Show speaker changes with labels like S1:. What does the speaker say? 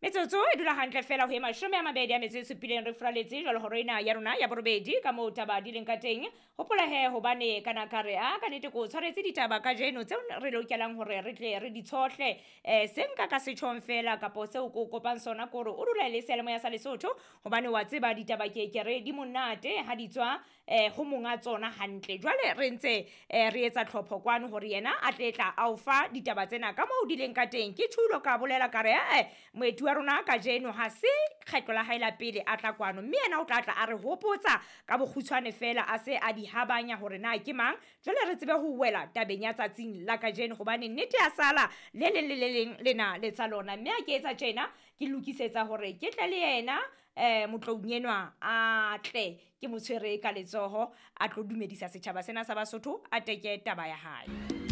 S1: Metsotso e dula hantle fela ho e 27 re furaletse jwalo horo ena ya rona ya borobedi ka moo taba di leng ka teng. Hopola he hobane kana ka re a ka nete ko tshwaretse ditaba kajeno tseo re lokelang hore re tle re di tshohle. Se nka ka setjhong fela kapo seo ko kopang sona kore o dula le seyalemoya sa Lesotho hobane wa tseba ditaba ke ke re di monate ha di tswa ho monga tsona hantle. Jwale re ntse re etsa tlhopho kwano hore yena a tle tla a o fa ditaba tsena ka moo di leng ka teng. Ke thulo ka bolela ka re moeti wa rona kajeno ha se kgetlo la hae la pele a tla kwano, mme yena o tla tla a re hopotsa ka bokgutshwane fela a se a di habanya hore na ke mang. Jwale re tsebe ho wela tabeng ya tsatsing la kajeno hobane nnete ya sala le leng le le leng lena le tsa lona. Mme ha ke etsa tjena ke lokisetsa hore ke tle le yena motloung enwa a tle ke mo tshwere ka letsoho a tlo dumedisa setjhaba sena sa Basotho a teke taba ya hae.